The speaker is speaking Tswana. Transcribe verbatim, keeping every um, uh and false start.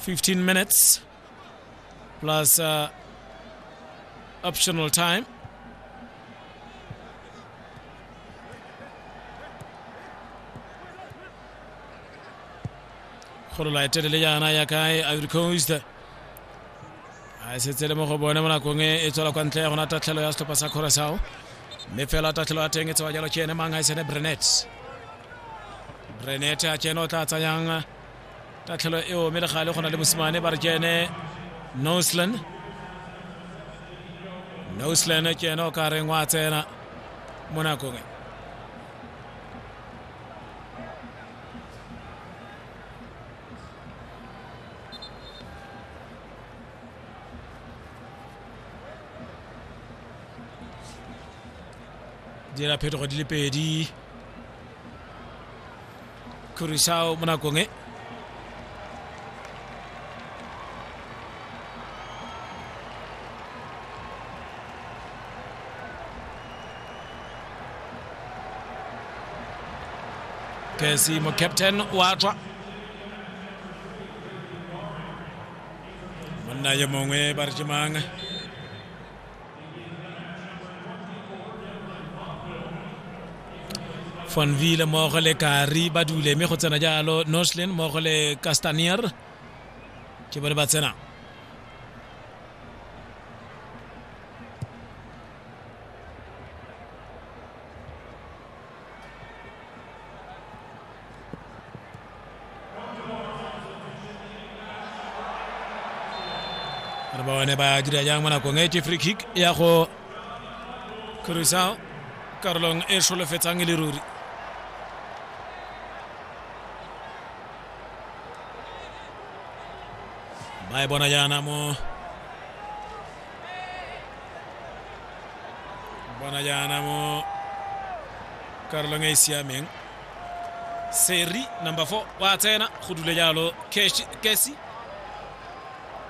Fifteen minutes plus uh, optional time. Kgolola e telele jaana ya kae Ivory Coast a e setse le mo go bone mo nakong e e tswela kwa ntle ya gona tatlhelo ya setlhopha sa Curaçao mme fela tatlhelo ya teng e tsewa jalo ke ene mang ga e sene Brenet Brenet a ke ene o tla tsayang tatlhelo eo mme le gale go na le mosimane ba re ke ene Noslan Noslan ke ene o ka reng wa tsena mo nakong e dira phetogo di le pedi Curaçao mo nakong e Kesi mo captain wa tswa monna yo mongwe ba re ke mang Van Wiele mmogo le Kari ba dule mme go tsena jalo Noslin mmogo le Castanier ke bone ba tsena re ba bone ba dira jang mo nakong e ke free kick ya go Curaçao karolong e solofetsang e le ruri ba e bona jaana mo bona jaana mo karolong e e siameng Seri number four wa tsena go dule jalo Kesi